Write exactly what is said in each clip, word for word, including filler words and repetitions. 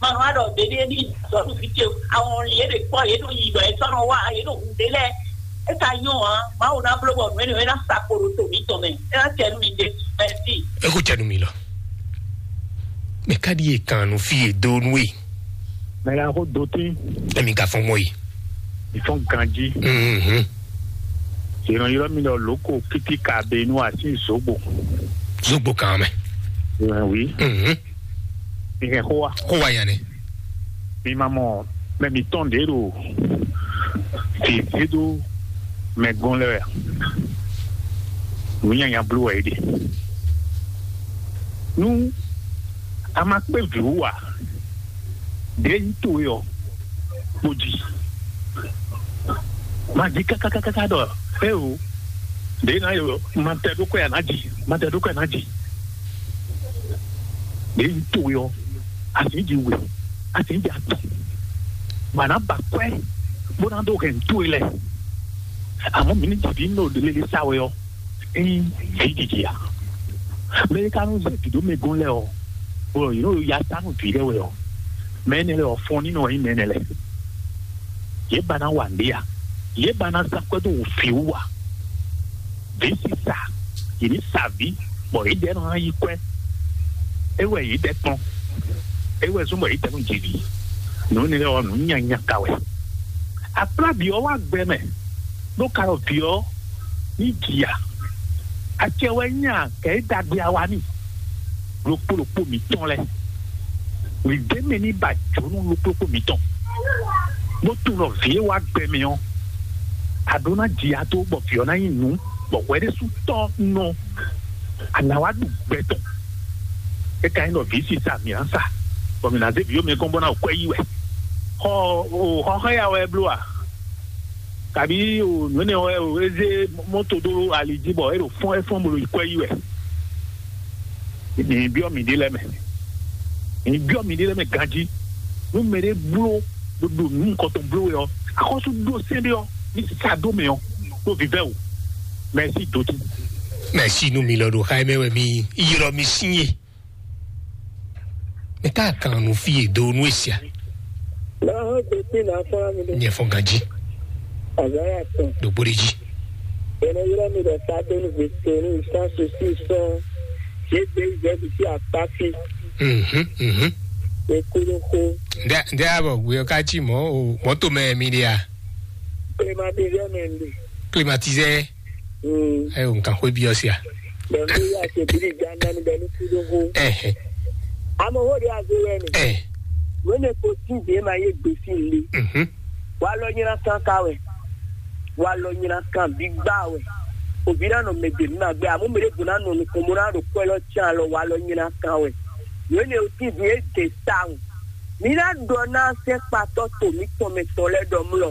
Ma nɔ aɖɔ ɖeɖe ní zɔnu fi ce awɔn li yé ɖe kpɔ yé ɖo yi ɖɔ yé sɔnɔ wa yé ɖo hu ɖe lɛ. E ka nyɔ hã, Mawu ná bló bɔ nǔ énɛ́ ná sa kpo ɖo to mǐtɔn mɛ. É ná tɛ nú mi ɖe. Mɛsi. Eko cɛ nu mi lɔ. Mɛ ka ɖi ye kan nu fi ye do nu ye. Mɛ la ko do tí. Emi ka fɔn mɔ ye. Ìfɔn ganjí. Mhm. Ìran ylɔ́ mi lɔ lóko kítíkà be inú àti zogbo. Zogbo kan mɛ. Ìran wí. Mhm. Ìhɛn xó wa. Xó wa yan nɛ. Mi ma mɔ mɛ mi tɔn ɖě ɖo fǐfíɖó mɛ gɔn lɛ wɛ. Nǔ nyanya bló wɛ é ɖe. Nú a ma kpé vǐ wú ǎ, ɖě nyí towe ɔ́, kpo jí. Ma jí kákákáká ɖɔ é o, ɖě ná yɔ ma tɛ ɖó kɔ́ ya ná jí, ma tɛ ɖó kɔ́ ya ná jí. Ɖě nyí towe ɔ́, a sì jí we, a sì jí atɔn. Mǎ ná ba kwɛ́ bó ná ɖó hɛn towe lɛ. Àmọ́ mi ní jǐ ví nɔ lele sa wɛ ɔ́, ényí vǐ jiji a? Mɛ e ka nɔ zé vǐ ɖó mɛ gɔ́n lɛ́ɛ ɔ́, bɔ yě nɔ ya ta nú vǐ lɛ́ɛ wɛ ɔ́, mɛ énɛ́ lɛ́ɛ ɔ́, fɔn ní nɔ wɛ nyí mɛ énɛ́ lɛ́ɛ. Yě ba ná wa nǔɖé a? Yě ba ná zán kwɛ́ dó wǔ fí wú a? Vǐ sisa, yě ní sa vǐ, bɔ yě dɛ́ nɔ ná yí kwɛ́. É wɛ yě dɛ́ kplɔ́n. É wɛ zɔ́n bɔ yě dɛ́ nɔ ji vǐ. Nǔ énɛ́ lɛ́ɛ ɔ́, nǔ nyanya ka wɛ. Akplábǐ ɔ́ wá gbɛ mɛ, ɖó ka ɖɔ vǐ ɔ́ ní ji a? Acɛ wɛ nyí a, kɛ é ɖagbe a wa n'i? Ɖokpó ɖokpó mǐtɔn lɛ́ɛ, mǐ ɖ'é mɛ ní ba jǒnú ɖokpó ɖokpó mǐtɔn, bó tunwun ɖɔ vǐ e wá gbɛ mɛ ɔ́, a ɖó ná ji a dó bɔ vǐ ɔ́ ná nyí nǔ, bɔ hwɛ ɖésú tɔ́ nɔ a nǎ wá ɖu gbɛ tɔn. É ka nyí ɖɔ vǐ sisa mǐ ná sa, bɔ mǐ ná zé vǐ ɔ́ mɛ gɔ́n bó ná ɖo kwɛ́ yí wɛ. Xɔ o xɔ xá ya wɛ é bló a? Kabǐ o nǔ énɛ́ wɛ o é zé mɔ́to dó ali jí bɔ é ɖo fɔ́n é fɔ́n bó ɖo yi kwɛ́ yí wɛ. Mi byɔ́ miɖée lɛ́ɛ mɛ. Mi byɔ́ miɖée lɛ́ɛ mɛ ganjí. Nú mɛɖé bló ɖo ɖo nǔ nukɔntɔn bló wɛ ɔ́, axɔ́sú ɖó sɛ́n ɖé ɔ́, ní sa dó mɛ ɔ́, ɖó vívɛ́ o. Mɛsí dǒtú. Mɛsí nú mi lɔ ɖo xá mɛ wɛ mi ylɔ́ mi sín e. Mɛ ka kan nu fí e do nu e sia. Náà hɔn gbèsè náà fọlá mi dé. Nyɛ fɔ ganji. Azaya tɔn. Ɖo gbóɖe jí. Ene yɔrɔ mi ɖe sa do nu gbèsè nu isan sosi sɔn. Ṣé gbé ìjẹ́ fi sí apá fi? Mhm, mhm. Ekúlókó. Ndé ndé abɔ gbé ká tí mọ́ o mọ́tò mẹ́ mi ɖe a. Climatiseur mɛ ndé. Climatiseur. Mm. Ayo nǹkan xó bí ọ sí a. Bẹ̀rù ya ṣe bí ìjà náà ni bẹ̀rù kú ló hó. Ẹ̀hẹ̀. Àmọ́ ó rí àgbo rẹ̀ nì. Ẹ̀. Wọ́n ní kò tí ì dé máa yé gbé sí ilé. Mhm. Wà á lọ nyina kan ká wẹ̀. Wà á lọ nyina kan bí gbá wẹ̀. Òbí náà nọ mẹ dèmí máa gbé àmọ́ mèrè gbóná nù nìkan mo náà rò pẹ́ lọ tí a lọ wà á lọ nyina kan wẹ̀. Wọ́n ní o tí ì dé dé sáhùn. Mǐ ná ɖɔ ná sɛ́nkpatɔ́ to mǐtɔn mɛ tɔn lɛ́ɛ ɖɔ mlɔ.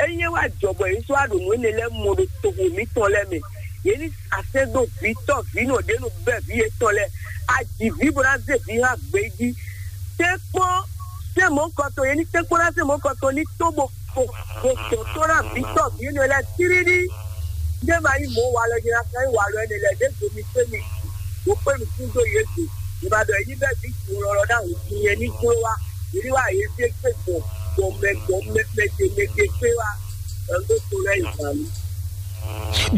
Ényí é wá jɔ bɔ yě sɔ́ wá ɖo nǔ énɛ́ lɛ́ɛ mɔ ɖo toxo mǐtɔn lɛ́ɛ mɛ, yě ní asɛ́ dó vǐ tɔ́ vǐ nɔ ɖě nɔ bɛ́ vǐ yětɔn lɛ́ɛ. A ji vǐ bó ná zé vǐ hán gbě jí. Tɛ́nkpɔ́n sɛ́n mɔ̌hunkɔtɔn, yě ní tɛ́nkpɔ́n ná sɛ́n mɔ̌hunkɔtɔn ní tó bó kpo bó dɔn tó ná vǐ tɔ́ vǐ énɛ́ lɛ́ɛ tíríní. Ndé ma nyí mɔ̌ walɔ nyina kan nyí walɔ énɛ́ lɛ́ɛ ɖěvo mi kpé mi wú kpé mi kún dó Yesu. Mi ma ɖɔ yí bɛ́ vǐ jǔlɔlɔ ná hun nyɛ ní jló wá. Yě ní wá yě zé kpé gbɔn gbɔn mɛ gbɔn mɛ mɛ ce mɛ ce kpé wá. Ɛn dó to lɛ́ yi zǎn mì.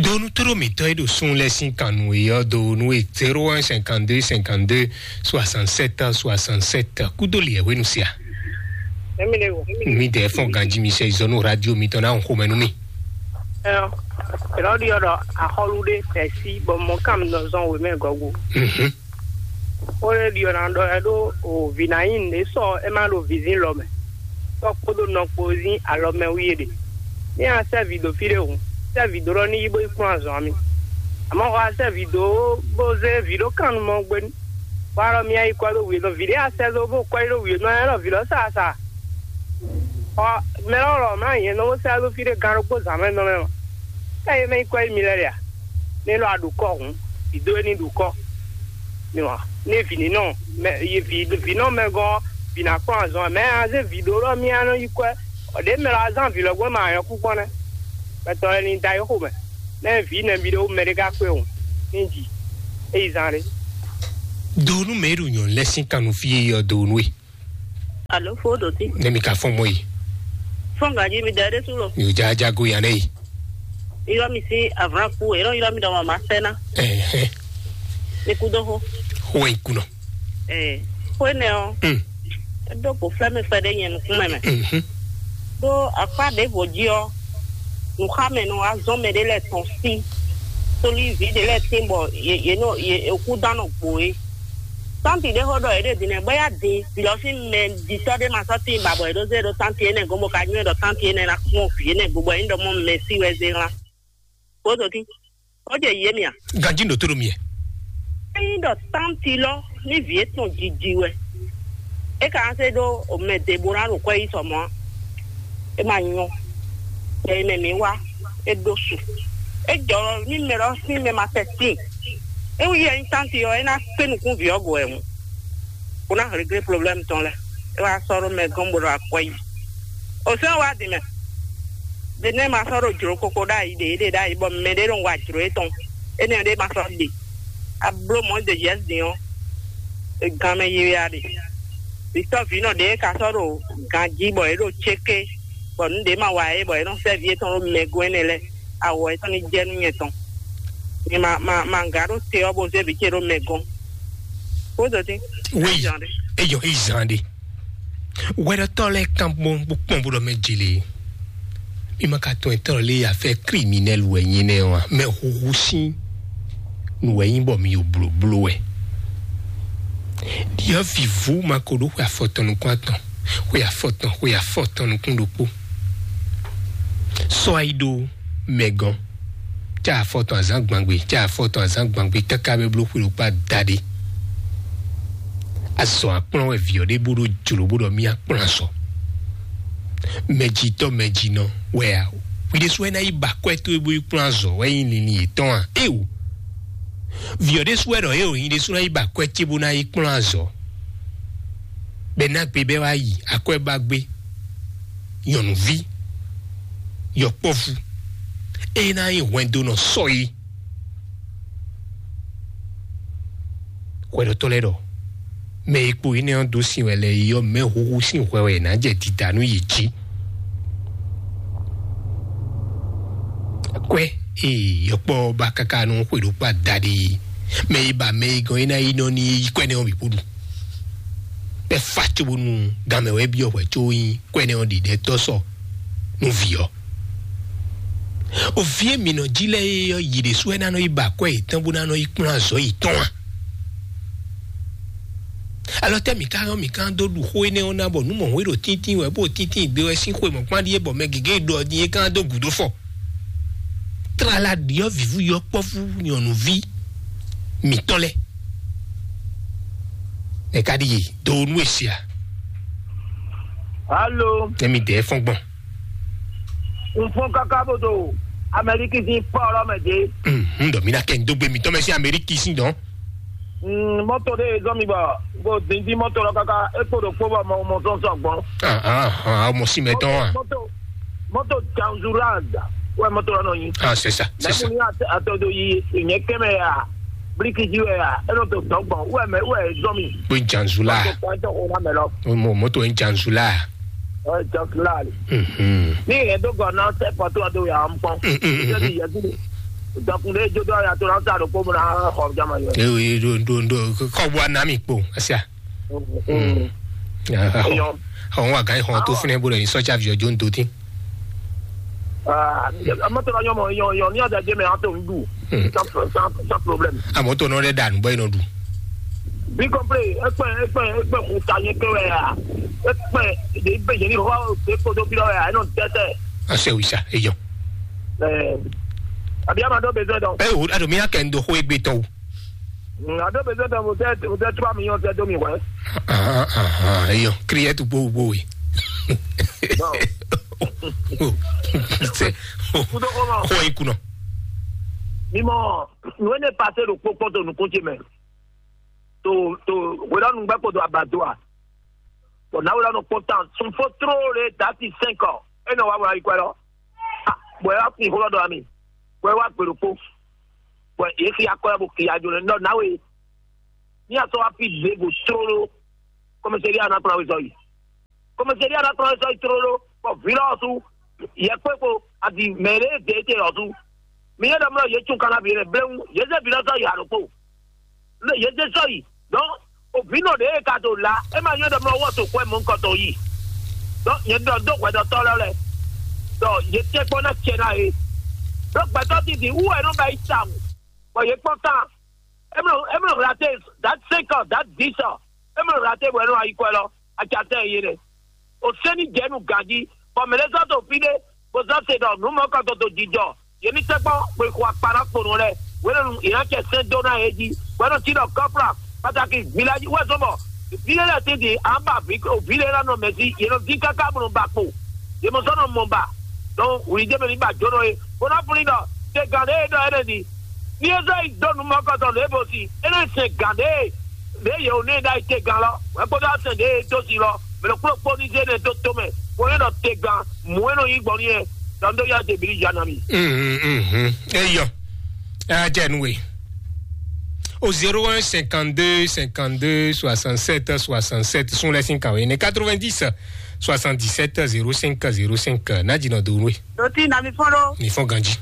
Donu toro mitɔ e ɖo sun lɛ sin kan nu e yɔ do nu e zéro un cinquante deux cinquante deux soixante sept soixante sept kudo liɛ wenu sia. Emi ne wo. Mi de fɔn ganji mi sɛ izɔnu radio mi tɔ na xomɛ nu mi. Ɛn, ɛlɔ di ɔdɔ axɔlu de tɛsi bɔ mɔ kam nɔ zɔn wemɛ gɔgu. Mhm. Ó lé ɖiɔ ná ɖɔ ɛ ɖó o vǐ ná nyí nǔɖé sɔ é má ɖo vǐzín lɔ mɛ. Tɔ́ kpódó nɔ kpó zín alɔ mɛ wú yé ɖe. Ní a sɛ́ vǐ dó fí ɖé hǔn, sɛ́ vǐ dó ɖɔ ní yi bó yi kplɔ́n azɔ̌ ami. Àmọ́ xɔ a sɛ́ vǐ dó bó zé vǐ ɖó kan nu mɔ gbé. Bó alɔ mì yi kwɛ́ ɖó wǐ nɔ vǐ ɖé a sɛ́ dó bó kwɛ́ ɖó wǐ nɔ ɛ ɖɔ vǐ lɔ sa sa. Xɔ mɛ lɔ lɔ mlá nyɛ nɔ bó sɛ́ dó fí ɖé gán ɖokpó zǎn mɛ nɔ mɛ mɔ. Ká yé mɛ yi kwɛ́ yi mi lɛ ɖe a? Ní lɔ a ɖu kɔ hǔn, vǐ dó é ní ɖu kɔ. Ní wa ní vǐ ní nɔ mɛ yi vǐ vǐ nɔ mɛ gɔn vǐ ná kplɔ́n azɔn mɛ a zé vǐ ɖó ɖɔ mì a nɔ yi kwɛ́. Ɔ ɖě mɛ lɔ a zán vǐ lɔ gbɔn mɛ a nyɔ́ kú gbɔn nɛ́. Mɛ tɔn lɛ ní da yi xo mɛ. Nɛ vǐ nɛbí ɖé wú mɛ ɖé ká kpé o ní ji. É yi zán ɖé. Donu mɛ e ɖo nyɔ̌nu lɛ́ sín kan nú fí e yɔ donu e. Alo, fo ɖo tí. Ne mi ka fɔn mɔ yi. Fɔn gaji mi dɛ ɖe su lo. Mi ò já já go yan ne yi. Yrɔ mi si avlan ku, yrɔ yrɔ mi dɔ ma ma sɛ na. Ɛhɛn. Mi ku do ho. Ho yi kunɔ. Eh, ko ne o. Mm. Edo ko flɛ mi fɛ ɖe nyɛ nukun mɛ mɛ. Mhm. Do akpa ɖe vo ji ɔ. Nuxamɛnɔ azɔn mɛ ɖe lɛ tɔn si. Soli vi ɖe lɛ tin bɔ ye ye nɔ ye eku dan nɔ gbo ye. Tanti ɖe xɔ ɖɔ yě ɖe din nɛ bɔ ya din vǐ lɔ sín mɛ ɖitɔ́ ɖé ma sɔ́ tíin ba bɔ yě ɖó zé ɖó tanti énɛ́ gɔ́n bó ka nywɛ́ ɖɔ tanti énɛ́ ná kpɔ́n vǐ énɛ́ go bɔ é nyí ɖɔ mɔ mɛ sí wɛ zé hlán. Bó zɔ tín, ó jɛ yě mì a? Ganji ɖo tó ɖo mi ɛ. É nyí ɖɔ tanti lɔ ní vǐ étɔn jiji wɛ. É ka ná zé ɖó mɛ ɖěbó ná ɖo kwɛ́ yí sɔ mɔ̌ a? É ma nyɔ. Bɔ é mɛ mǐ wá, é ɖó su. É jɔ ní mɛ lɔ sín mɛ ma tɛ tíin. É wú yɛ nyí tanti ɔ́, é ná kpé nukún vǐ ɔ́ go wɛ mu. Bó ná réglé problème tɔn lɛ́ɛ. É wá sɔ́ ɖó mɛ gɔ́n bó ɖo akwɛ́ yi. O sɛ́n wá din mɛ. Ɖe nɛ́ ma sɔ́ ɖo jlǒ koko ɖ'ayǐ ɖě ɖe ɖ'ayǐ bɔ mɛ ɖé nɔ wa jlǒ étɔn. Énɛ́ ɖé ma sɔ́ ɖe. A bló mɔ̌ ɖe yɛ̌ din ɔ́, è gan mɛ yiya ɖe. Vǐtɔ́ vǐnɔ ɖě ka sɔ́ ɖo ganjí bɔ é ɖo céké, bɔ nǔ ɖě ma wa é bɔ é nɔ sɛ́ vǐ étɔn ɖó mɛ gɔ́n énɛ́ lɛ́ɛ, awɔ étɔn ní jɛ nú nyɛ tɔn. Nyɛ ma ma ma ŋgǎ ɖó te ɔ́ bó zé vǐ ce ɖó mɛ gɔ́n. Bó zɔ dín. Oui. Zan ɖé. Eyɔ, yi zan ɖe. Wɛɖɔtɔ́ lɛ́ɛ kan gbɔn bó kpɔn bó ɖɔ mɛ jele. Mi ma ka tɔn etɔ́ lé ya fɛ kriminɛl wɛ nyi nɛ wa. Mɛ huhu sín nǔ wɛ nyí bɔ mi yo blóbló wɛ. Ɖiɔ vǐvú ma ko ɖó xwe afɔtɔn nukún atɔn, xwe afɔtɔn, xwe afɔtɔn nukún ɖokpó. Sɔ ayi ɖó mɛ gɔ́n, cá afɔtɔn azǎn gbangbe, cá afɔtɔn azǎn gbangbe káká bɛ bló xwe ɖokpó adaɖé. Azɔn akplɔ́n wɛ vǐ ɔ́ ɖe bó ɖó jlǒ bó ɖɔ mì akplɔ́n azɔn. Mɛjitɔ́ mɛjinɔ wɛ a? Hwi ɖésú wɛ ná yi ba akwɛ́ towe bó yi kplɔ́n azɔn wɛ nyí linlin yětɔn a? Éeǒ. Vǐ ɔ́ ɖésú wɛ ɖɔ éeǒ, nyi ɖésú ná yi ba akwɛ́ ce bó ná yi kplɔ́n azɔn. Bɛ ná gbe bɛ wá yi akwɛ́ ba gbé. Nyɔ̌nuví, yɔkpɔ́vú, ée ná nyí hwɛndo nɔ sɔ é. Hwɛɖɔtɔ́ lɛ́ɛ ɖɔ mɛ e kpo énɛ́ ɔ́ dó sin wɛ lɛ́ɛ é ɔ́, mɛ huhu sín hwɛ wɛ è nǎ jɛ dida nú yě jí. Kwɛ́ e yɔkpɔ́ ɔ́ ba káká nú xwe ɖokpó adaɖé é, mɛ e ba mɛ e gɔn é ná yi nɔ ní yí kwɛ́ nɛ́ ɔ́ bǐ kpó ɖu. Bɛ́ fa cóbónú ganmɛ wɛ byɔ́ hwɛ có nyí kwɛ́ nɛ́ ɔ́ ɖiɖɛtɔ́ sɔ nú vǐ ɔ́. O vǐ e mǐ nɔ jí lɛ́ɛ é ɔ́, yě ɖésú wɛ ná nɔ yi ba akwɛ́ yětɔn bó ná nɔ yi kplɔ́n azɔ̌ yětɔn a? Alɔ tɛ́ mǐ ka ɔ́, mǐ ka dó ɖu xó énɛ́ ɔ́ ná bɔ nǔ mɔ̌hwé ɖo tíntín wɛ bó tíntín gbe wɛ sín xwe mɔ̌kpán ɖíe bɔ mɛ gěgé ɖɔ din é ka dó gǔdo fɔ. Tlala ɖiɔ́ vǐvú yɔkpɔ́vú nyɔ̌nuví mǐtɔn lɛ́ɛ. Nɛ ka ɖi yi do nú e sia. Alo. Nɛ mi dɛ fɔn gbɔn. N fɔn kaka bó do Amɛliki sín pɔ́ ɔlɔ mɛ dé. N ɖɔ mi na kɛ n dó gbé mi tɔn mɛ sí Amɛliki sín dɔn. Mm, mɔto ɖé zɔn mi bɔ bó dín dín mɔto lɔ kaka é kpo ɖo kpó bɔ mɔ mɔ sɔn sɔ gbɔn. Ah ah ah, mɔ sí mɛ tɔn ah. Mɔto mɔto janzura wɛ mɔto lɔ nɔ nyi. Ah, c'est ça, c'est ça. Mɛ mun ni atɔ do yi nyɛ kɛmɛ ya bliki ji wɛ ya e nɔ to tɔ gbɔn wɛ mɛ wɛ zɔn mi. Pé janzula. Mɔto kɔn tɔ o na mɛ lɔ. Mo moto en janzula. Ɔ janzula le. Mhm. Ni yɛ do gɔ na sɛ pɔtɔ do ya n pɔn. Mm, mm, mm, mm. Dɔkun de jo do ya to na sa do ko mo na xɔ jama yɔ. Eh oui, do do do ko bua na mi kpo asia. Mm. Àwọn wà gáyé hàn tó fúnẹ́ bó lọ ní sọ́jà fi ọjọ́ ń tó tín. Amɔtɔ la nyɔmɔ yɔ yɔ ní ọjà jẹ mẹ an tó ń dù. Sans sans sans problème. Àmọ́ tó náà dẹ̀ dànù bọ́ iná dù. Bí kọ́ńpé ẹgbẹ́ ẹgbẹ́ ẹgbẹ́ kò ta yẹn pé wẹ̀ yà ẹgbẹ́ ìdè ìgbẹ́ yẹn ní hó ṣe kó tó bí lọ́wọ́ yà ẹ̀ náà tẹ́tẹ́. Àṣẹ òrìṣà èèyàn. Àbí àmàdó bẹ̀rẹ̀ dán. Ẹ o, àdùnmí akẹ́ńdó hó egbe tán o. Ado bɛ sɛ tɛ mo tɛ mo tɛ tura mi yɔn tɛ do mi wɛ. Ahan, ahan, eyɔ kriɛ tu gbo gbo we. Sɛ. Kudo kɔnɔ. Xɔ yi kunɔ. Mi mɔ nue ne pase ɖo kpokpɔ to nukun ce mɛ. To to wɛrɛ nugbɛ kpo do abadoa. Bɔn na wɛrɛ nɔ kpɔn tan sun fo tro le dati cinq ans. E nɔ wa wɛrɛ yi kwɛ lɔ. Bɔn e wa kun xɔ lɔ dɔ ami. Bɔn e wa gbe ɖokpo. Bɔn e xia kɔ ya bo xia jo ne nɔ na we. Ní a sɔ wa fi ɖěvo tlóló kɔmɛsɛri a nɔ kplɔ́n awe zɔ yi. Kɔmɛsɛri ɔ́ ná tlɔ́n sɔ́ yi tlóló, bɔ vǐ lɔ ɔ́ sú yɛkpékpo adi mɛ e ɖě dě te ɔ́ sú. Mi nyɛ ɖɔ mlɔ yě tún kanna bǐ lɛ bléwu, yě zé vǐ lɔ sɔ́ yi alo kpo. Lé yě zé sɔ́ yi. Donc, o vǐ nɔ ɖě e ka ɖo la, é ma nyɔ ɖɔ mlɔ wɔ to kwɛ mɔ̌ kɔtɔn yi. Donc, nyɛ ɖɔ dó hwɛɖɔtɔ́ lɔ lɛ. Donc, yě tɛ́ kpɔ́n ná cɛ ná yě. Donc, gbɛtɔ́ titi wú wɛ nɔ ba yi tawun. Bɔ yě kpɔ́n tán. Emlo emlo hlate dat cinq ans, dat dix ans. Emlo hlate bɔ ɛnɔ ayi kwɛ lɔ, atsatɛ ye ɖe. O sɛni jɛ nu ganji, bɔ mɛ ɖe sɔ to fi ɖe, bó sɔ se ɖɔ nu mɔ kɔ to to jijɔ. Ye mi tɛgbɔ, bɔ xɔ akpa na kpo nɔ lɛ. Wɛnɛ nu yina cɛ sɛn do na ye ji. Wɛnɛ ti ɖɔ kɔpla, pataki village wɛ sɔ bɔ. Fi ɖe lɛ titi, an ba vi o vi ɖe la nɔ mɛ si, ye nɔ di kaka bɔ nɔ ba kpo. Ye mɔ sɔ nɔ mɔ ba. Donc, wuli jɛ mɛ ni ba jɔ nɔ ye. Bó ná fún ní ɖɔ, te gan ɖe e ɖɔ ɛnɛ di. Ní e zɔ yi dó nǔ mɔkɔtɔn lě bó si, é nɔ sɛn gǎn ɖě e ɖě yě wǒ n'i ɖ'ayǐ te gán lɔ, wɛ kpódó asɛn ɖě e dó si lɔ, mɛ ɖokpó kpó ní zé nɛ dó tó mɛ, bó nɔ́ ɖɔ te gán, mǔ e nɔ nyí gbɔn n'i wɛ, ɖɔ un ɖó yá Jebíli ya ná mi. Mhm, mhm. Eyɔ. Ajá nu we. Au zéro un cinquante-deux cinquante-deux soixante-sept soixante-sept, sun lɛ sin kan we ne quatre-vingt-dix soixante-dix-sept zéro cinq zéro cinq. N'a dzi nɔ do nwe. Doti na mi fɔn ɖo. Mi fɔn ganji.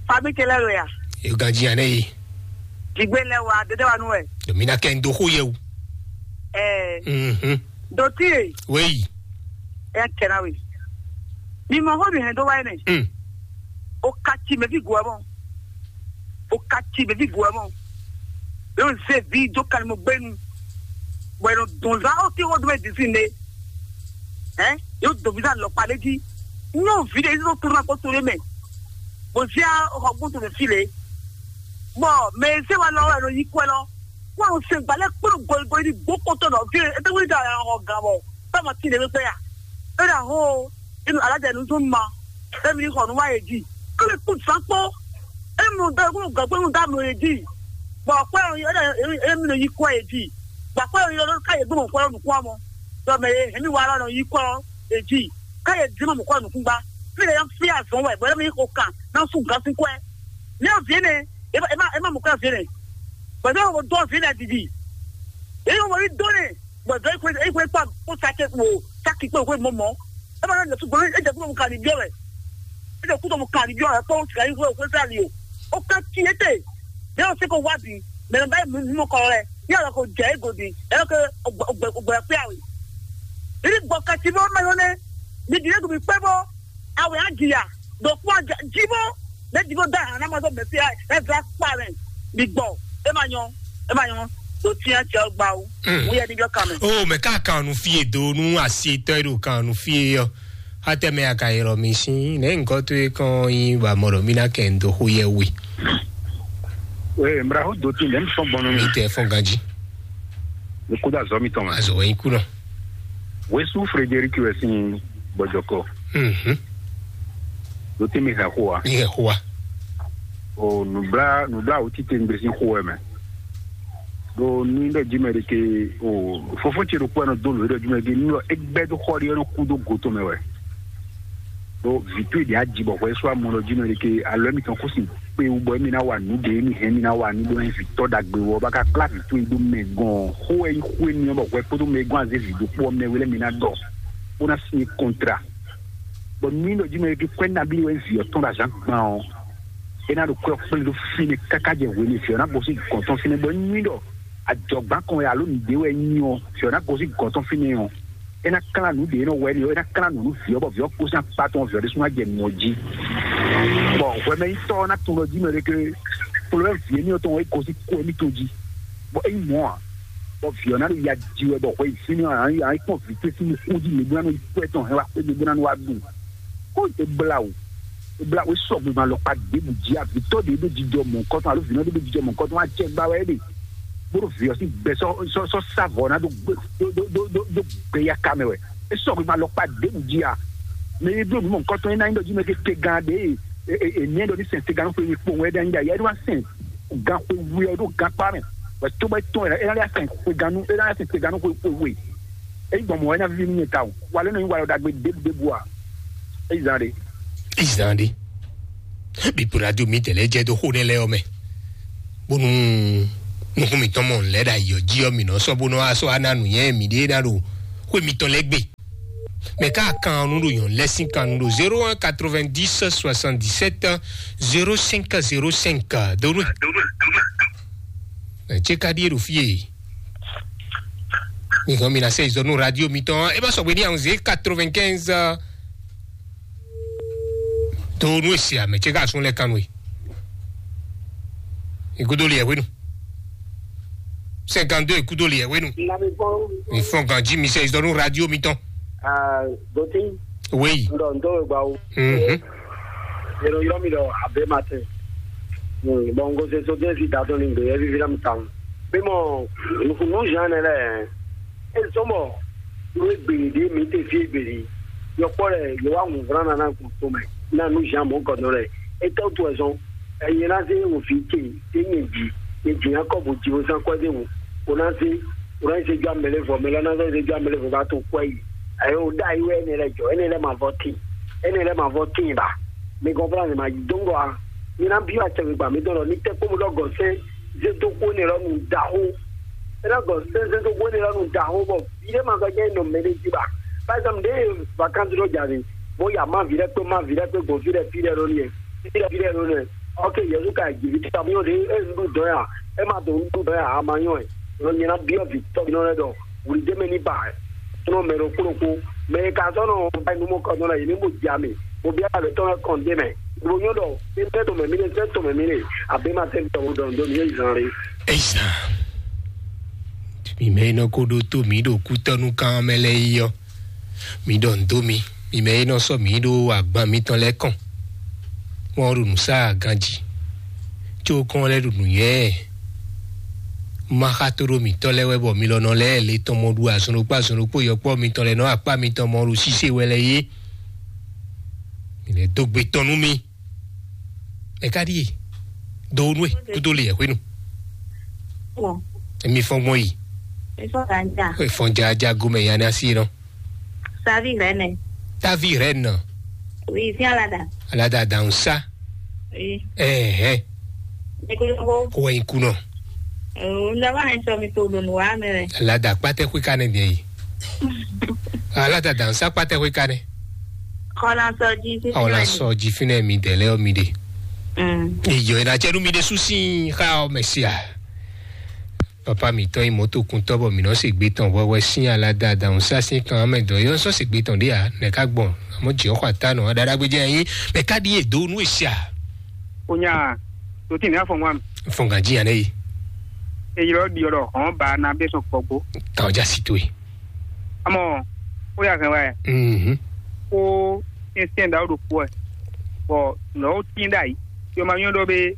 Fami kele lo ya. E ganji ane yi. Jigbe lɛ wa dede wa nu wɛ. Domi na kɛ ndo xo ye o. Ɛɛ. Mhm. Doti ye. Weyi. Ɛ kɛra we. Mi mɔ xɔ mi hɛn do wa ne. Mm. O ka ci mɛ fi gu ɛ mɔ. O ka ci mɛ fi gu ɛ mɔ. Yóò zé vi jó kalimɔ gbɛnu. Bɔ yɛ nɔ dɔn zan o ti xɔ do mɛ disi ne. Ɛ yóò dɔn vi zan lɔkpa ɖe jí. Nyɔ vi ɖe yóò kúrú ma kpɔtɔ ɖe mɛ. Bó zia xɔ gbóso mɛ fi le. Bɔ mɛ e zé wa lɔ wɛ nɔ yi kwɛ lɔ. Kó àwọn sɛn gbalẹ kpɔnɔ gɔyigɔyi ní gbó kótó nɔ fi. Ete wuli da àwọn ọgá bɔ. Fama ti ne mi kpɛ ya. E da ho. Inu alajɛ nu tún ma. Emi ní xɔ nu wa yé dzi. Kó mi kú zan kpó. Emu dɔ kó gɔgbé nu da mlɔ yé dzi. Bɔ kpɛ yɔ e da emi nɔ yi kɔ yé dzi. Bɔ kpɛ yɔ lɔ ka yé gbɔmɔ kɔ nukun amɔ. Dɔ mɛ yé hɛn mi wa lɔ nɔ yi kɔ yé dzi. Ka yɛ di ma mɔ̌ kɔ nukúngba. Fí lɛ yɔ fí azɔn wɛ bɔ yɛ mi xo kan na su gan si kwɛ. Ní ɔ vǐ nɛ, e ma e ma mɔ̌ kɔ vǐ nɛ. Bɔ yɛ ko dɔ vǐ nɛ didi. E yɔ wɔ yi dɔ nɛ. Bɔ dɔ yi ko yi ko kpa ko sa ke ko sa ki ko ko mɔ mɔ. E ma na su gbɔ e jɛ kúrò mu kan ni biɔ wɛ. E jɛ kúrò mu kan ni biɔ wɛ kpɔ sika yi ko ko sa li o. O ka ti e te. Ní ɔ se ko wá bi. Mɛ nɔ ba yi mu mɔ kɔ wɛ. Yálà kò jẹ́ ègòdì, ẹ̀rọ kẹ ọgbẹ́ ọgbẹ́ ọgbẹ́ pé àwẹ̀. Ìdí gbọ́ kẹtì bọ́ mẹ́rin ní, ní ìdílé kò bí pé bọ́, àwẹ̀ á jìyà, dòkú àjà jí bọ́, lẹ́jì bọ́ dá àná mọ́tò bẹ̀ sí ẹ̀ ẹ̀ fẹ́ pa rẹ̀, bí gbọ́, ẹ máa yan, ẹ máa yan, tó tiẹ́ tiẹ́ gba o, Mm. wọ́n yẹ níbi ọkà mẹ́. O mɛ ká kan nu fie do nu asi tɔ e ɖo kan nu fie yɔ. Atɛmɛ aka yɛlɔ mi sin ne nkɔ to e kɔn yi ba mɔ ɖɔ mi na kɛ ndo xo yɛ we. Ee, mra ho do tin dem sɔn bɔnɔ mi. Mi tɛ fɔn ganji. Mi kuda zɔ mi tɔn ma. Azɔ wɛ yi kunɔ. Wesu Frederic wɛ sin bɔjɔkɔ. Mhm. Do tin mi ha xo wa. Mi hɛ xo wa. O nubla nubla o tite ngbe sin xo wɛ mɛ. Do nu ɖɔ jimɛ de ke o fofo ce ɖo kpɔ nɔ do lo ɖɔ jimɛ de nu ɖɔ egbɛ do xɔ de nɔ ku do go to mɛ wɛ. Do vitu de aji bɔ xɔ eso amɔ ɖɔ jimɛ de ke alɔ mi tɔn ko sin pe wu bɔ mi na wa nu de mi hɛn mi na wa nu do na fi tɔ dagbe wɔ ba ka kpla vitu do mɛ gɔn xo e xo e mi bɔ xɔ kpo do mɛ gɔn aze vi do kpɔ mɛ wele mi na dɔ ko na sin kontra. Bɔ nu ɖɔ jimɛ de ke kwɛ nabi wɛ vi ɔtɔn da zan gban ɔ. E na ɖo kwɛ kplé ɖo fínɛ́ káká jɛ hwenu fí ɔ́ ná gosín gɔ̌n tɔn fínɛ́ bɔ é nyí ɖɔ ajɔ̌gbán kan wɛ alo nǔɖé wɛ é nyí ɔ́, fí ɔ́ ná gosín gɔ̌n tɔn fínɛ́ ɔ́, é ná klán nǔɖé nɔ wɛ é ná klán nǔ nú vǐ ɔ́ bɔ vǐ ɔ́ gosín akpá tɔn vǐ ɔ́ ɖésú ná jɛ nǔ ɔ́ jí. Bɔ hwɛmɛnyitɔ́ ɔ́ ná tunwun ɖɔ jí mɛ ɖé ké kplɔ́ vǐ émí ɔ́ tɔn é gosín kú émítɔn jí, bɔ é nyí mɔ̌ ǎ, bɔ vǐ ɔ́ ná ɖo ya ji wɛ bɔ hwɛ yi fínɛ́ ɔ́, ǎ nyí kpɔ́n vǐ ce sín nukún jí mǐ bó ná nɔ yi kpɔ́ ɛ tɔn hɛn wá xwé mǐ bó ná nɔ wá ɖu. Kó é blá wǔ. Bla wé sɔgbe ma lɔkpa ɖěbǔ jí avitɔ ɖě ɖo jijɔ mɔ̌kɔtɔn alo vǐnɔ ɖé ɖo jijɔ mɔ̌kɔtɔn wá jɛ gba wɛ ɖe. Bó ɖo vǐ ɔ́ sín gbɛ sɔ́ sɔ́ sɔ́ sá vɔ̌ ná ɖó gbé ɖó ɖó ɖó ɖó gbɛ́yá ka mɛ wɛ. É sɔgbe ma lɔkpa ɖěbǔ jí a. Mɛ e bló nǔ mɔ̌kɔtɔn é ná nyí ɖɔ jí mɛ kéké gán ɖě e e e ní ɖɔ ní sɛn tegannú xwe kpowun wɛ ɖe anyí ɖe ayɛ ɖó wá sɛn gan xwe wu ɛ ɖó gan kpá mɛ. Wɛ tó bɔ é tɔn ɛ é ná lɛ́ sɛn xwe gannú é ná lɛ́ sɛn tegannú xwe xwe we. Eyi gbɔn mɔ̌ wɛ ná víví nú nyɛ tawun. Wa lě nɔ nyí walɔ ɖagbe ɖěbǔɖěbǔ a? Eyi zán ɖé. Eyi zán ɖé. Bíbu radio mi tɛlɛ jɛ dó xó nɛ lɛ ɔmɛ. Bónú nukún mitɔn mɔ lɛ ɖa yɔ jí ɔ mi nɔ sɔ bónú asɔ ana nù yẹn mi ɖé ná ɖo xó mitɔn lɛ gbé. Mɛ ká kan nu ɖo nyɔ̌nu lɛ́ sín kan nu ɖo zéro un quatre-vingt-dix soixante-dix-sept zéro cinq zéro cinq. Donu. Ɛ, tse ka ɖíe ɖo fí e. Mi hɔn mi na sɛ izɔ nu radio mitɔn. E ma sɔgbe ní àwọn zé quatre-vingt-quinze. Donu esi ame tse ka sun lɛ kan nu e. Igudo liɛ wenu. Cinquante-deux ikudo liɛ wenu. Na mi fɔn. Mi fɔn ganji mi sɛ izɔ nu radio mitɔn. Ah, Doti. Oui. Ndo ndo gba o. Mhm. Yero yɔrɔ mi dɔ abe ma tɛ. Hmm, bon, ngo se so den si da to ni gbe evi vira mi tan. Be mo, nu nu jan ne le. E so mo. Nu e gbe de mi te fi gbe de. Yo kpɔ le, yo wa mu vran na na ku to me. Na nu jan mo ko no le. E to to e so. Eye na se wo fi ke, e nye ji. E ji na ko bo ji o san ko de wo. O na se, o na se jo amele vo, mele na se jo amele vo ba to ko yi. Ayo da yi we ne le jo, ene le ma voti. Ene le ma voti ba. Mi comprendre ma dongo a. Mi na bi wa tse mi gba mi dɔn ni te ko mu dɔ gɔsɛ ze do ko ne lɔ nu da ho. E na gɔsɛ ze do ko ne lɔ nu da ho bɔ. Bi de ma gɔ jɛ no mele ji ba. Par exemple, de vacances do jani. Mo ya ma vi de pe ma vi de pe go vi de fi de lo ni. Fi de fi de lo ne. Ok, Yesu ka ji vi ta mi o de e nu dɔn ya. E ma do nu dɔn ya a ma yɔn e. Lo nyina bi o vi tɔ mi no le dɔ. Wuli de me ni ba. Tɔnɔ mɛ ɖokpó ɖokpó, mɛ e ka zɔ́ nɔ ba nu mɔ kɔ nɔ na yi ní mo ja mi, mo bia le tɔn kɔn de mɛ, mo nyɔ dɔ, ní tɛ to mɛ mi ne, tɛ to mɛ mi ne, abe ma tɛ tɔ wo dɔn do mi ye zan le. Ezan. Mi mɛ e nɔ ko ɖo to mi ɖo kútɔnu kan mɛ lɛ yi ɔ, mi ɖɔ ndo mi. Mi mɛ e nɔ sɔ mi ɖo agban mitɔn lɛ kɔn. Wọn ɖo nǔ sa ganji. Tso kɔn lɛ ɖo nǔnywɛ́. Maxa to ɖo mǐtɔn lɛ́ɛ wɛ bɔ mi lɔ nɔ lɛ́ɛ le tɔn mɔ ɖu azɔn ɖokpó azɔn ɖokpó yɔkpɔ́ mitɔn lɛ́ɛ nɔ akpá mitɔn mɔ ɖu sise wɛ lɛ yé. Mi lɛ dó gbe tɔn nú mi. Ɛ ka ɖíe. Do nú e kúdó le yɛ hwenu. Wɔ. Emi fɔn gbɔn yi. Efɔ ganja. Efɔn jaja gomɛ yanni asi nɔ. Savi rɛ nɛ. Tavi rɛ nɔ. Oui, fi alada. Alada dansa. Oui. Ɛhɛn. Ekolobo. Ko wɛ nyi kunɔ. Oo, n daba hɛn sɔ mi to ɖo nǔ wa mɛ wɛ. Alada kpatɛ xwe ka ne diɛ yi. Alada dansa kpatɛ xwe ka ne. Xɔla sɔ ji fi. Xɔla sɔ ji fi ne mi dɛ lɛ mi de. Mm. Iyɔ ina cɛ nu mi de susi xa o mɛsia. Papa mǐtɔn nyí mɔ̌tokuntɔ́ bɔ mǐ nɔ se gbe tɔn hwɛhwɛ sín alada adǎhúnsá sín kan mɛ dɔ̌ é nɔ sɔ́ se gbe tɔn ɖé ǎ. Nɛ̌ ká gbɔn? Amɔ̌ jǐ ɔ́ xɔ atá nɔ ɖaɖagbe jɛ nyí mɛ ká ɖíe dó nú e sia. Onya, dotí ní afɔ ŋwa mi. Fɔn gǎn jí ane yi. Eyilɔ ɖiɔ ɖɔ hɔn ba na bɛ sɔn kpɔgbó. Kan ɔjà si towe. Amɔ, ó yà hɛn wɛ. Mhm. Kó syɛnsyɛn ɖawo ɖo kpó wɛ. Bɔ nɔwo tín ɖ'ayǐ. Yɔ ma nyɔ ɖɔ bé,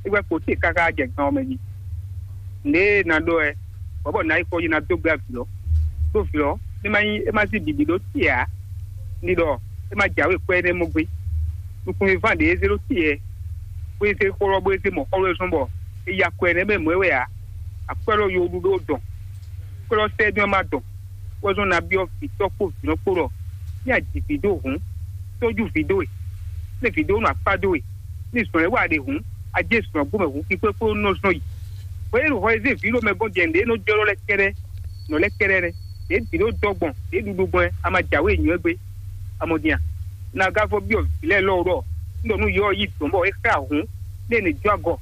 é gbɛ kpo te káká jɛ gan ɔ́ mɛ jí. Nǔɖé e ná ɖó wɛ, bɔ̌ bɔ nǎ yi kpɔ́ yi ná dó gbé avǐ lɔ. Ɖó vǐ lɔ, é má nyí é má sí bǐbí ɖó te ǎ. Ní ɖɔ é má jǎwe kwɛ́ énɛ́ mɔ gbé. Nukúnmí ván ɖě é zé ɖó te ɛ, bó é zé xó lɔ bó é zé mɔ̌ xɔ lɔ é zɔ́n bɔ é ya kwɛ́ énɛ́ mɛ mɔ̌ é wɛ ǎ. Akwɛ́ lɔ yo ɖu ɖó dɔn. Kwɛ́ lɔ sɛ́ dɔn é má dɔn. Wɛ zɔ́n ná byɔ́ vǐtɔ́ kpó vǐnɔ kpó ɖɔ ní a ji vǐ dó hǔn, tójú vǐ dó we, ní vǐ dó nɔ akpá dó we, ní zɔn ɛ wa ɖe hǔn, a jɛ zɔn gbɔmɛ hǔn kpíkpé kpó nɔ zɔn yi. Bɔ é ɖo hɔ e zé vǐ ɖo mɛ gɔ́n jɛ nǔɖé nɔ jɔ lɛ kɛɖɛ, nɔ lɛ kɛɖɛ nɛ, ɖě vǐ ɖó dɔ́ gbɔn, ɖě ɖuɖu gbɔn ɛ, a ma jǎwe nyɔ ɛ gbé. A mɔ din a? Na gá vɔ byɔ́ vǐ lɛ́ɛ lɔ ɖɔ, un ɖɔ nú yɔ yi dɔ̌n bɔ é xá hǔn, ní è nǐ jó agɔ,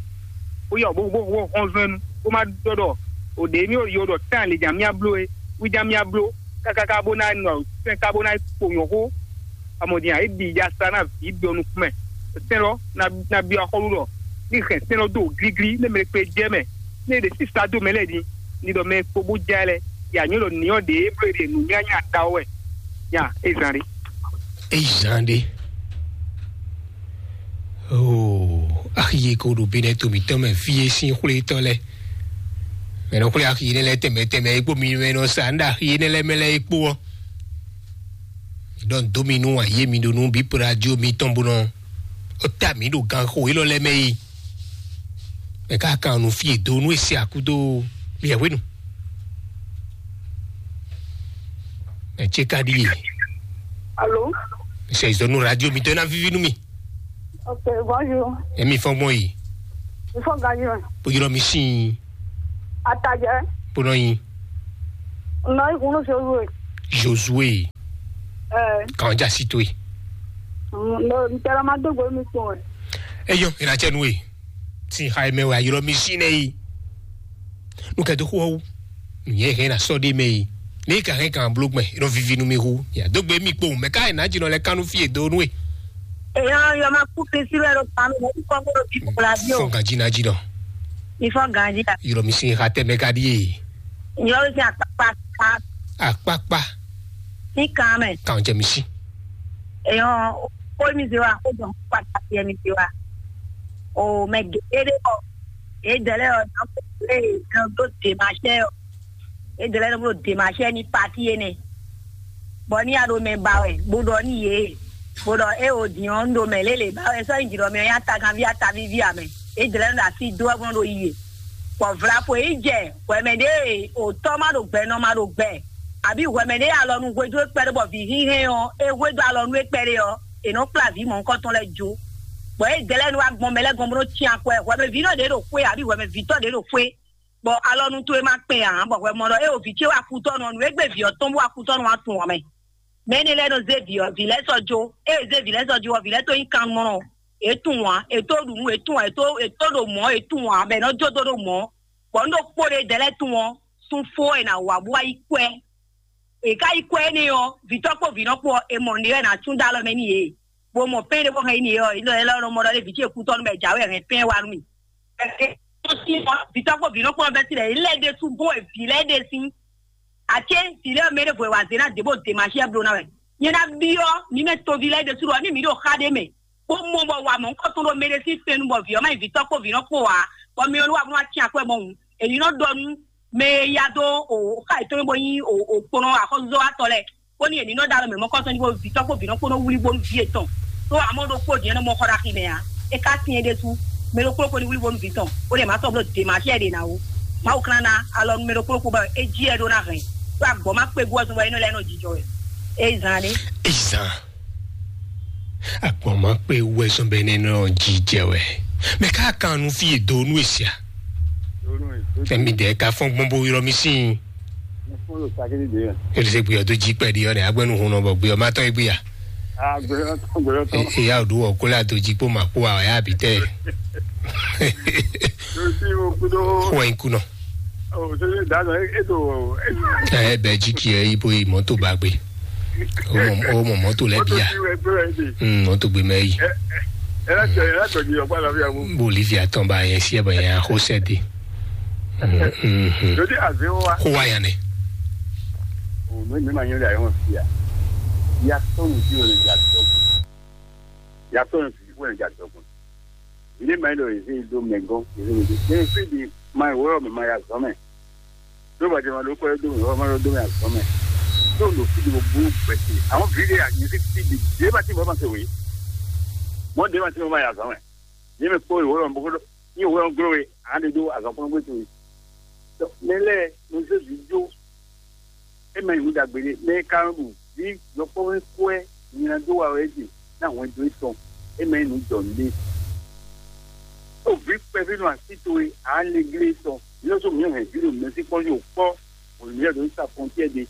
bó yá wǔ bó bó bó hɔn zɔn ɛ nu, bó má ɖɔ ɖɔ o ɖě émí yo ɖɔ tán lě nya mía bló é, wí nya mía bló, kákáká bó ná nɔ sɛn ká bó ná kpo nyɔ̌ xó. Amɔdin a é ɖi ya sa ná vǐ ɖɔ nukún mɛ. Sɛn lɔ ná ná byɔ́ axɔ́lú ɖɔ ní hɛn sɛn lɔ dó gígí ní mɛ kpe jɛ mɛ, ní è ɖe sísá dó mɛ lɛ́ɛ din, ní ɖɔ mɛ kpo bó já ɛ lɛ, yě anyɔ́ ɖɔ ní ɔ́ ɖě é bló è ɖe nǔ nyanya da ɔ́ wɛ. Nya é zán ɖé. É zán ɖé. Oo, axi e ko ɖo Benɛto mǐtɔn mɛ fí é sín xwlétɔ́ lɛ́ɛ. Mɛ nɔ xwlé axi énɛ́ lɛ́ɛ tɛnmɛ tɛnmɛ é kpó mi mɛ nɔ sa nɖe axi énɛ́ lɛ́ɛ mɛ lɛ́ɛ é kpó ɔ́. Ɖɔ dó mi nú ayé mi ɖo nú bí pradio mitɔn bó nɔ ó ta mǐ ɖo ganxo élɔ́ lɛ́ɛ mɛ yi. Mɛ ká kan nu fí e do nú e se akúdó liɛhwenu. Mɛ ce ka ɖi ye. Alo. Sɛ izɔnu radio mitɔn na vivi nú mi. Ok, bonjour. Emi fɔn gbɔn yi. Ifɔ ganyi mɛ. Bójú lɔ mi sin. Atajɛ. Bónɔ yi. Nɔ ikun ní Josué. Josué. Ɛ, kàn já sí tó e. N tɛ lɔ ma dó gbe mi tɔn ɛ. Eyɔ, ìrànjẹ nu e. Tí ha mɛ wɛ ayɔlɔ mi sí nɛ yi. Nu kɛ dó xó ɔ́ wú. Nǔnyɛ hɛn na sɔ ɖé mɛ yi. Ní ka hɛn kan bló gbɛ, nɔ vivi nu mi hu. Ya dó gbe mi kpo, mɛ ká yɛ nǎ jínɔ lɛ kánú fí e dó nú e. Èèyàn yọ máa kú kiri sí lẹ́rọ kan mi lẹ́yìn kọ́ gbọ́dọ̀ bí kò la bí o. Fọ́n gàjí ná jí nɔ. Ìfọ́n gàjí la. Yọ̀rọ̀ mi sin ha tẹ́ mɛ ká díye. Ìyọ́ ló sin àpápá ká. Àpápá. Ní kan mẹ́. Kàn jẹ́ mi sí. Èèyàn ó mi ṣe wa, ó jọ pàtàkì ẹni ṣe wa. O mẹ gègé dé bọ̀. Èyí dẹ̀lẹ́ ọ̀ náà kò lè yan tó dè máa ṣẹ́ ọ̀. Edlɛ́ nɔ bó ɖe ma sɛ ní pati énɛ́, bɔ ní a ɖo mɛ ba wɛ, bó ɖɔ ní yě, bó ɖɔ é o din ɔ́, un ɖo mɛ lélẹ̀ ba wɛ, sɔ́ nyi jǐ ɖɔ mɛ ɔ́ nyí ataganví atavíví amɛ. Edlɛ́ nɔ ɖo así dó wɛ bó nɔ ɖo yi e, bɔ vlapo yi jɛ hwɛmɛ ɖé, o tɔ́ ma ɖo gbɛ, nɔ ma ɖo gbɛ, àbí hwɛmɛ ɖé alɔ nu hwedó kpɛɖé bɔ vǐ hínhɛn ɔ́, é hwedó alɔ nú é kpɛɖé ɔ́, è nɔ kplá vǐ mɔ̌hunkɔtɔn lɛ́ɛ jó. Bɔ edlɛ́ nɔ wá gbɔn mɛ lɛ́ɛ gɔ́n bó nɔ cyán akwɛ, hwɛmɛ vǐ nɔ ɖě ɖo xwé, àbí hwɛmɛ vǐtɔ́ ɖě ɖo xwé, bɔ alɔnu towe ma kpɛn ǎ, bɔ hwɛ mɔ ɖɔ é o vǐ ce wá kutɔ́nú ɔ́, nǔ e gbé vǐ ɔ́ tɔn bó wá kutɔ́nú wá tunwun ǎ mɛ. Mɛ énɛ́ lɛ́ɛ nɔ zé vǐ ɔ́, vǐ lɛ́ɛ sɔ́ jó. Ée è zé vǐ lɛ́ɛ sɔ́ jó ɔ́, vǐ lɛ́ɛ tó nyí kannumɔnɔ, é tunwun ǎ, è tó ɖu nǔ, é tunwun ǎ, è tó, è tó ɖo mɔ̌, é tunwun ǎ, bɔ è nɔ jó dó ɖo mɔ̌. Bɔ un ɖo kpó ɖé dɛ̌ lɛ́ɛ tunwun ɔ́, sun fó è nǎ wá bó wá yi kwɛ́. È ká yi kwɛ́ énɛ́ ɔ́, vǐtɔ́ kpó vǐnɔ kpó ɔ́, è mɔ nǔɖé wɛ è nǎ tún dó alɔ mɛ n'i yě. Bó mɔ pɛ́n ɖé bó hɛn yi n'i é ɔ́, é lɔ é lɔ nɔ mɔ ɖɔ lé vǐ ce kútɔ́ nú bɔ è jǎwe hɛn pɛ́n wá nú mì. Vǐtɔ́ kpó vǐnɔ kpó ɔ́ bɛ́ sílẹ̀, yě lɛ́ ɖésú bó wɛ vǐ lɛ́ɛ ɖe sín. Acé vǐ lɛ́ɛ mɛ ɖěvo e wa zě ná dě bó dě ma siɛ bló ná wɛ. Nyɛ ná byɔ́ mǐ mɛ toví lɛ́ɛ ɖésú ɖɔ ní mǐ ɖo xá ɖé mɛ, bó mɔ bɔ wa mɔ̌hunkɔtɔn ɖo mɛ ɖé sín fɛ́nnu bɔ vǐ ɔ́ má nyí vǐtɔ́ kpó vǐnɔ kpó ǎ, bɔ mɛ ɔ́ ní wa bó ná cyán akwɛ́ mɔ̌hun. Èyí nɔ ɖɔ nú mɛ e ya dó o xá yětɔn bó nyí o kponɔ axɔ́zɔ́watɔ́ lɛ́ɛ, bó ní è ní nɔ ɖó alɔ mɛ mɔkɔ́sɔ́ ní bó vǐtɔ́ kpó vǐnɔ kpó nɔ wlí bónú vǐ yětɔn. Ɖó amɔ̌ ɖokpó din ɔ́ nɔ mɔ xɔ ɖo axi mɛ ǎ. É ka sin é ɖésú, mɛ ɖokpó ɖokpó ní wlí bónú vǐ tɔn, bó ɖe mǎ sɔ́ bló dě ma siɛ ɖe ná ó. Mawu klán ná alɔ nú mɛ ɖokpó ɖokpó bɔ é jí ɛ ɖó ná hɛn. Ɖó agbɔ̌ má kpé gú ɔ́ zɔn bɔ é nɔ lɛ́ nɔ jijɔ wɛ. É zán ɖé. Izan. Agbɔn ma kpe wɛ zɔn bɛ ne nɔ jijɛ wɛ. Mɛ ka kan nu fi do nu esia. Fɛmi dɛ ka fɔn gbɔn bo yɔrɔ mi sin. Ele se gbiyɔ do ji kpɛ di yɔ ne agbɛnu hun nɔ bɔ gbiyɔ ma tɔ egbiya. Eya o do wɔ kola do ji kpo ma kpo a ya bi tɛ. Xɔ in kunɔ. Ɛ bɛ ji kiɛ yi bo yi mɔto ba gbe. O mɔ o mɔ mɔto lɛ bia. Mm, mɔto gbe mɛ yi. Bolivia tɔn ba yɛ si ɛ bɔ yɛ xo sɛ de. Xo wa yan nɛ. Yatɔnu fi wɛ ne ja dɔgbɔn. Yatɔnu fi wɛ ne ja dɔgbɔn. Ilé ma yi ɖo yeze yi do mɛ gɔn yeze yi do. Yeze fi di ma yi wɛ mɛ ma ya zɔn mɛ. Ɖó bɔ jɛma ɖó kɔ ɖó mɛ, ma ɖó mɛ azɔn mɛ. Ɖó ɖo fi ɖo bú gbɛsɛ. Àwọn vi ɖe anyi fi fi ɖi ɖe ma ti bɔ ma se wòye. Mɔ ɖe ma ti bɔ ma yi azɔn mɛ. Yé mɛ kpó ìwé lɔ bó ní ìwé lɔ glo we, àwọn ɖe ɖó azɔn kpɔn gbé to yi. Mɛ lɛ mo zé vi jó. E ma yi wú dagbe ɖe, mɛ ka ɖu vi yɔkpɔ́ wɛ kɔɛ nyina dó wa wɛ ɖe, ná hwɛndo etɔn. E ma yi nǔ jɔ nɖe. O vi kpɛví nɔ asi towe, a lé glé etɔn. Yóò sɔ mǐ hɛn vǐ ɖo mɛsí kpɔ́n yóò kpɔ́, wǒ mǐ ɖo sa fɔntiɛ ɖe,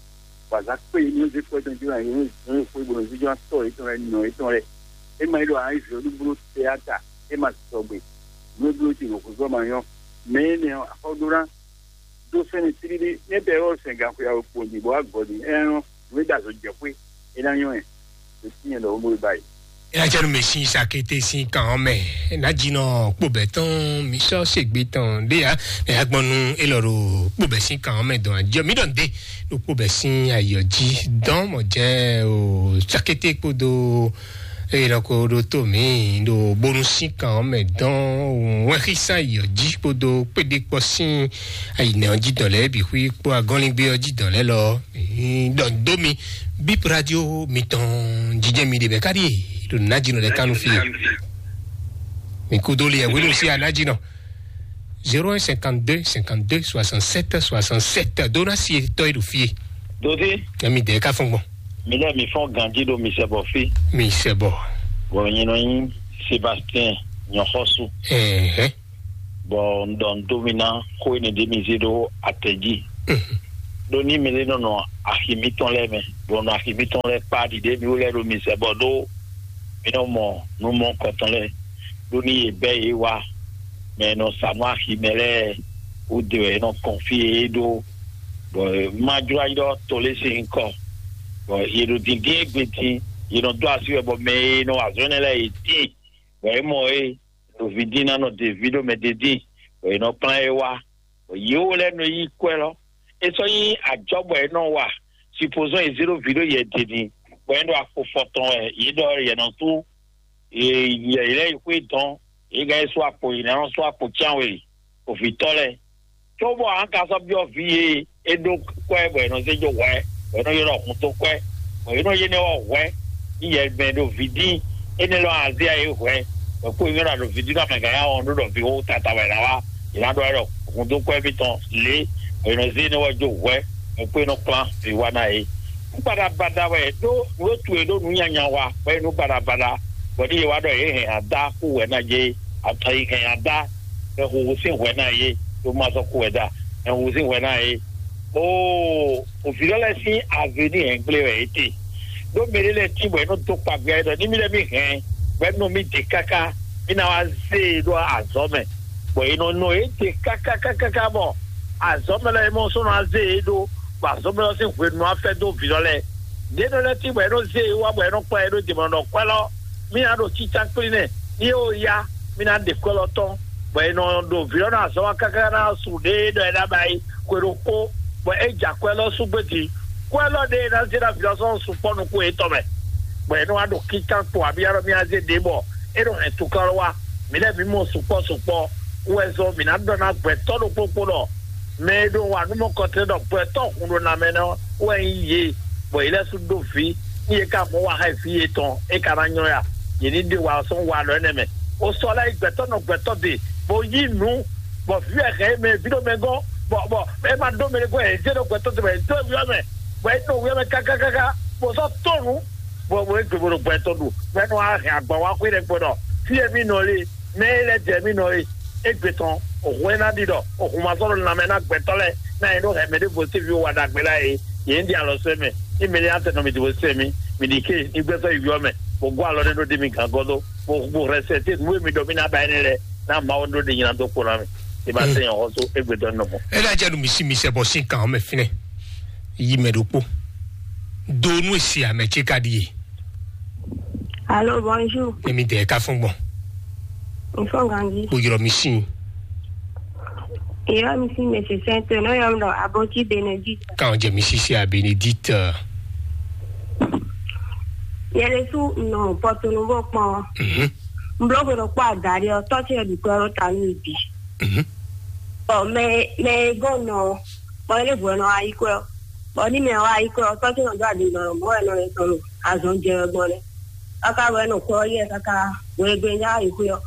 wǎ zá kpé yě ní zé kpɔ́ tɔn jlá yě ní xwé bó nɔ zíjɔ tɔ yětɔn lɛ́ɛ nɔ yětɔn lɛ́ɛ. É ma yi ɖo ǎ Izraɛli bló tɛáta, é ma sɔgbe. Nǔ e bló ce ɖo xwéfɔ́ ma nyɔ́. Mɛ énɛ́ ɔ́, axɔ́ ɖó ná dó sɛ́n tlílí, ní é bɛ́ ɔ́ sɛn ganxɔyǎ wokpɔ́n din bɔ wá gɔ̌ din. É nyɔ́, nǔ e ɖo azɔ̌ jɛ xwé, é ná nyɔ́ ɛ. Ɖo tínyɛ ɖɔ wómɔ ba yi. Ela jɛ nu mɛ sin sakété sin kan ɔ́ mɛ. Ná jinɔ kpóbɛ tɔn mi sɔ segbe tɔn ɖé ya. Ɛ agbɔnnu elɔ ɖo kpóbɛ sin kan ɔ́ mɛ dɔn ajɔ mi ɖɔ nde ɖo kpóbɛ sin ayɔ jí dɔn mɔ jɛ o sakété kpódó eye lɔ ko ɖo tó mi ɖo bónú sin kan ɔ́ mɛ dɔn wɛn xísán ayɔ jí kpódó kpéɖé kpɔ sin ayinɛ ɔ́ jí dɔn lɛ bi xwí kpó agɔnlingbe ɔ́ jí dɔn lɛ lɔ. Ɖɔ dó mi bip radio mitɔn jijɛ mi ɖe bɛ káɖi ɖo najinɔ ɖe kanu fi mi kudo li ɛwé ló sí anajinɔ zéro un cinquante deux cinquante deux soixante sept soixante sept dona si etɔ yi ɖo fie. Dodi. Ɛmi dɛ ka fɔn gbɔn. Mi lɛ mi fɔn ganji ɖo mi sɛ bɔ fi. Mi sɛ bɔ. Bɔn nyinɔ yin Sébastien nyɔxɔsu. Ɛhɛ. Bɔn ndɔ ndomina ko ene de mi zi ɖo atɛ ji. ɖó ní mɛ lɛ́ɛ nɔ nɔ axi mǐtɔn lɛ́ɛ mɛ, bɔ nɔ axi mǐtɔn lɛ́ɛ kpá ɖiɖe mì wú lɛ́ɛ ɖo mì sɛ bɔ ɖó mì nɔ mɔ nú mɔkɔtɔn lɛ́ɛ, ɖó ní yě bɛ́ yě wá, mɛ e nɔ sa nú axi mɛ lɛ́ɛ wú de wɛ è nɔ kɔn fí e é ɖó, bɔ má jló ayi ɖɔ to lé sín nyǐkɔ, bɔ yě ɖo dǐndín égbé din, yě nɔ dó así wɛ bɔ mɛ e nɔ wa azɔ̌ énɛ́ lɛ́ɛ yě tíin, bɔ é mɔ é ɖo ví dín ná nɔ ɖe ví ɖó mɛ ɖé dín, bɔ è nɔ kplán é wá, bɔ yě wo lɛ́ɛ nɔ yí kwɛ́ lɔ. É sɔ́ nyí ajɔ́ bɔ è nɔ wa, supozɔ́n è zé ɖó ví ɖó yɛ din, bɔ é ɖo akpo fɔtɔn wɛ yě ɖɔ yɛ nɔ sú, yě yě lɛ́ yi xwé dɔn, yě gán yi sú akpo, yě ná nɔ sú akpo cyánwe, ovǐtɔ́ lɛ́ɛ. Cóbɔ a ka sɔ́ byɔ́ vǐ e é ɖó kwɛ́ bɔ è nɔ zé jó hwɛ, bɔ è nɔ ylɔ́ hun dó kwɛ́, bɔ è nɔ yé nɛ́ ɔ́ hwɛ, ní yɛ mɛ ɖo vǐ dín, énɛ́ lɔ azé a é hwɛ, bɔ kó nyɔ́ ɖo vǐ dín nɔ mɛ gǎn ya wɔn ɖó ɖɔ vǐ xó tata wɛ ná wá, è nǎ ɖɔ wɛ ɖɔ hun dó kwɛ́ mitɔn lě, bɔ è nɔ zé énɛ́ ɔ́ jó hwɛ, bɔ kó é nɔ kplán vǐ wá ná é. Nú baɖabaɖa wɛ ɖó nǔ e tu è ɖó nǔ nyanya wa, bɔ é nú baɖabaɖa, bɔ ní yě wá ɖɔ yě hɛn adá kú wɛ ná jɛ é, atɔ yi hɛn adá, bɛ huhu sín hwɛ ná yé, ɖó má sɔ́ kú wɛ dá, bɛ huhu sín hwɛ ná yé. Oo, òvǐ lɔ lɛ́ɛ sín avenir hɛngblé wɛ é te. Ɖó mɛ ɖé lɛ́ɛ tín bɔ é nɔ dó kpagbɛ ɖɔ ní mì lɛ́ɛ mì hɛn, bɔ é nɔ mì ɖe káká, mì ná wá zé e ɖó azɔ̌ mɛ. Bɔ è nɔ nɔ é ɖe káká káká bɔ azɔ̌ mɛ lɛ́ɛ é mɔ sɔ́ nɔ wá zé e ɖó, bɔ azɔ̌ mɛ lɛ́ɛ sín hwenu wá fɛ́ dó vǐ lɔ lɛ́ɛ. Ɖě nɔ lɛ́ɛ tín bɔ é nɔ zé e wá bɔ é nɔ kplá ɛ ɖó dě mɔ nɔ kwɛ́ lɔ, mì ná ɖo cícá kplí nɛ́, ní é ó yá, mì ná ɖe kwɛ́ lɔ tɔn, bɔ è nɔ ɖo vǐ ɔ́ ná azɔ̌ wá káká ná su ɖě ɖɔ è ná ba yi xwe ɖokpó, bɔ é ja kwɛ́ lɔ sú gbé din. Kwɛ́ lɔ ɖé e ná zé ná vǐ ɔ́ sɔ́ sukpɔ́ nukún yětɔn mɛ, bɔ è nɔ wá ɖo kíkán kpo abí alɔ mì azé ɖě bɔ é nɔ hɛn tukɔ́lɔ́ wá. Mǐ lɛ́ɛ mǐ mɔ sukpɔ́ sukpɔ́ wɛ zɔn mǐ ná ɖɔ ná gbɛ̌tɔ́ ɖokpó kpó ɖɔ mɛ e ɖo wa nú mɔkɔtɛn ɖɔ gbɛ̌tɔ́ hun ɖo na mɛ nɛ́ ɔ́ wɛ nyí yě, bɔ yě lɛ́ sú ɖó vǐ, ní yě ka mɔ wa xá vǐ yětɔn, é ka ná nyɔ́ ya. Yě ní ɖe wa sɔ́ wa lɔ énɛ́ mɛ. O sɔ lɛ́ yi gbɛ̌tɔ́ nɔ gbɛ̌tɔ́ de, bó yí nǔ, bɔ vǐ wɛ hɛn é mɛ, vǐ ɖo mɛ gɔ́n, bɔ bɔ é ma ɖó mɛ ɖé gɔ́n, yě zé ɖo gbɛ̌tɔ́ de, bɔ yě dó vǐ ɔ́ mɛ, bɔ é ɖo vǐ ɔ́ mɛ káká káká, bó sɔ́ tó nǔ, bɔ bó é gbe bó ɖo gbɛ̌tɔ́ ɖu, bɔ é nɔ wá hɛn agban wá xwé ɖɛkpɛ ɖɔ fí e mì nɔ lé, mɛ e lɛ́ jɛ mì nɔ é, égbé tɔn, òhun e ná ɖi ɖɔ òhun ma sɔ́ ɖo lanmɛ ná gbɛtɔ́ lɛ́ɛ, ná nyɛ ɖó hɛn mɛɖěvo sín vǐ wó wa ɖagbe lá é, yě ní ɖi alɔ sɛ́ mɛ, ní mɛ ní atɛ nɔ mi dó sɛ́ mì, mi ɖi ké ní gbɛ́sɔ́ yi ɔ́ mɛ, bó gɔ́ alɔ ɖé ɖó ɖi mi gǎn gɔ́ dó, bó bó hɛn sɛ tí nǔ e mi ɖɔ mí ná ba énɛ́ lɛ́ɛ, ná Mawu ɖó ɖe nyi ná dó kpó ná mi. Ì bá sɛ́ nyɛ xɔ́só égbé tɔn nɔ mɔ. É ná jɛ nú mi sí mi sɛ bɔ sín kan ɔ́ mɛ fínɛ́. Yi mɛ ɖokpó. Do nú èsì àmɛ ce ka ɖíe. Allô, bonjour. Èmi dẹ̀ ká fún gbọ̀n. N fɔ ganji. Kpojúrɔ mi sin. Ìyá mi sí mèsì sẹ́ńtẹ̀ náà yọ lọ àbókí Benedict. Káwọn jẹ mi sísè à Benedict. Yẹlẹ sú nù pọtunu bó pọn. Mhm. N bló gbọdọ kpọ àdárí ọ tọ́sí ẹ̀ dùkú ọ̀rọ̀ ta ní ìdí. Mhm. Bɔ mɛ mɛ gɔn nɔ bɔ ilé ìbò ẹ̀ nɔ wá yí kọ́ ẹ̀. Bɔ ní mɛ wá yí kọ́ ẹ̀ tọ́sí ẹ̀ nɔ dó àdìgbò ọ̀rọ̀ mọ́ ẹ̀ nọ ẹ̀ tɔ̀nù àzɔ̀n jẹ ẹ̀ gbọ́n lẹ̀. Kaka wɛ nɔ kɔ yɛ kaka wɛ gbɛ nya yi xwe ɔ.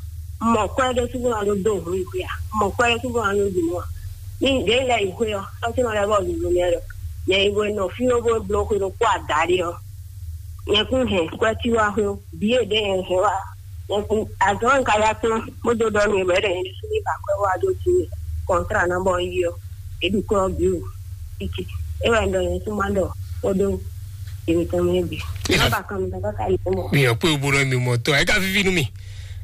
Mɔ kɔ ɖe sugu na do do hu yi xwe a. Mɔ kɔ ɖe sugu na do du mɔ. Ni de lɛ yi xwe ɔ. Ɔ ti nɔ lɛ bɔ du du lɛ lɔ. Nyɛ yi wɛ nɔ fi wo bo blo xwe do kɔ adari ɔ. Nyɛ kun hɛ kɔ ti wa xwe o. Bi e de yɛ hɛ wa. Nyɛ kun azɔ nka ya tɔn. Mo do dɔ mi wɛ de ni ba kɔ wa do ti. Kɔntra na bɔ yi ɔ. Eɖi kɔ bi o. Titi. E wɛ ndɔ yɛ suma dɔ. O do. Ebi tɔn mi bi. Nɔmba kan mi tɔn kaka yi mɔ. Mi ɔ kpé obo nɔ mi mɔ tɔ ɛ ka vivi nu mi.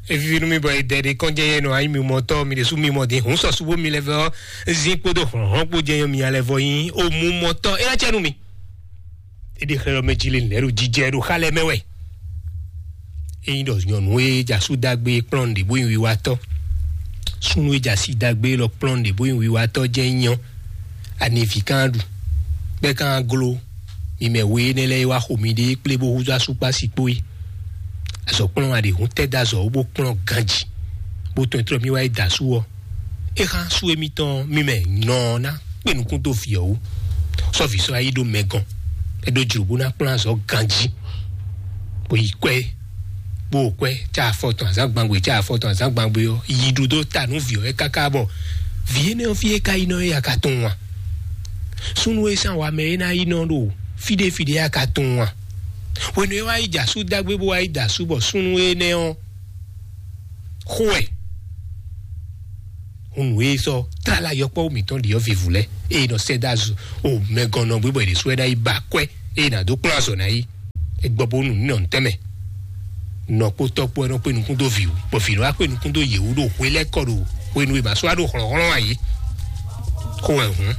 Evivi nu mi bɔ edɛ de kɔn jɛ yɛ nɔ ayi mi mɔ tɔ mi de su mi mɔ de hun sɔ subo mi lɛ vɛ ɔ. Zin kpodo hlɔnhlɔn kpo jɛ yɔ mi alɛ vɔ yin o mu mɔ tɔ e la cɛ nu mi. Eɖi xlɛ lɔ mɛ dzi le lɛ ɖo jijɛ ɖo xa lɛ mɛ wɛ. Eyin ɖɔ nyɔnu e dza su dagbe kplɔn ɖe bo yin wiwatɔ. Sunu e dza si dagbe lɔ kplɔn ɖe bo yin wiwatɔ jɛ nyɔ. Ani vi kan ɖu. Bɛ kan glo. Mi mɛ we énɛ́ lɛ́ɛ e wá xo miɖée kplé bó húzú asúkpási kpó é. Azɔ̌ kplɔ́n aɖěhún tɛ́ dó azɔ̌ wú bó kplɔ́n ganjí, bó tɔn tlɔ́ mì wá yi da asú ɔ́. É xá asú émítɔn mì mɛ nɔ ná kpé nukún dó vǐ ɔ́ wú. Sɔ́ vǐ sɔ́ yá yi ɖó mɛ gɔn, é ɖó jlǒ bó ná kplɔ́n azɔ̌ ganjí, bó yi kwɛ́, bó kwɛ́ cá afɔ tɔn azǎngbangbe cá afɔ tɔn azǎngbangbe ɔ́, yi ɖu dó ta nú vǐ ɔ́ é káká bɔ vǐ énɛ́ ɔ́ fí é ka yi nɔ é ya ka tunwun a? Súnnu e sín awa mɛ é ná yi nɔ ɖo fí ɖé fí ɖé a ka tunwun a? Hwenu e wá yi jɛ asú dágbé bó wá yi da asú bɔ súnnu énɛ́ ɔ́ xo wɛ. Hun nǔ e sɔ́ tlala yɔkpɔ́ mǐtɔn ɖi ɔ́ vivu lɛ́ɛ, eye nɔ sɛ́ dó azɔ o mɛgɔnnɔ gbé bɔ è ɖě sú ɛ ná yi ba akwɛ́, eye nǎ dó kplɔ́n azɔ ná yi. È gbɔ bó nu nǔ nɔ ntɛ́ mɛ. Nɔ kpó tɔ́ kpó ɛ nɔ kpé nukún dó vǐ wú, bɔ vǐ nɔ wá kpé nukún dó yě wú ɖo hwe lɛ́ɛ kɔ ɖo hwenu e mǎ sɔ́ wá ɖo hlɔ̌nhlɔ́n ayǐ. Xó wɛ hǔn.